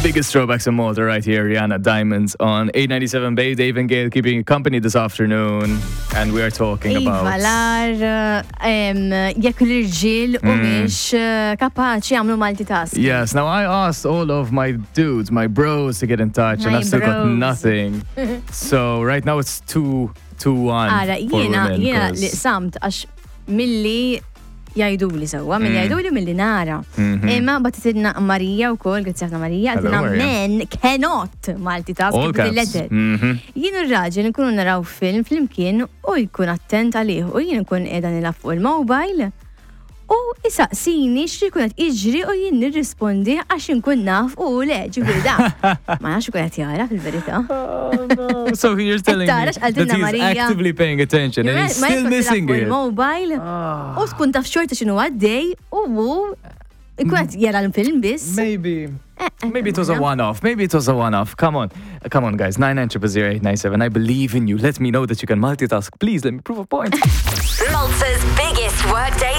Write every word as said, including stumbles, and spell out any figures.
Biggest throwbacks in Malta right here, Rihanna Diamonds on eight ninety-seven Bay. Dave and Gail keeping you company this afternoon. And we are talking Iva, about... l-ar, em, jekk l-irġiel Mm. humiex eh, kapaċi jagħmlu multitasking. Yes, now I asked all of my dudes, my bros to get in touch, and My I've still got bros. nothing. So right now it's two, two, one Ara, for jiena, women, jiena 'cause- li samt għax milli jgħiduli sewwa, milli Mm. jgħiduli milli nara. Mhm. Imma bagħtitilna Marija u kollox, grazzi ħafna Marija, Hello, qaltilna Maria. men cannot multitask All caps. letter. Mhm. Jien u r-raġel nkunu naraw film flimkien u jkun attent għalih u jien nkun qiegħda nilgħab fuq il-mobile u isaqsini x'ikun qed jiġri u jien nirrispondi għax inkun naf u le ġifieri da. Ma nafx ikun qed jara fil-verità. Oh no. So you're telling me Tara that x'qaltilna he's Marija. actively paying attention and he's Ma still jkun missing tilgħab fuq it. il-mobile Ah. u tkun taf xorta x'inhu għaddej u hu ikun qed jara l-film biss. Maybe. Eh, eh, Maybe it was a one-off. Maybe it was a one-off. Come on. Come on, guys. nine nine triple zero eight nine seven. I believe in you. Let me know that you can multitask. Please let me prove a point. Malta's biggest workday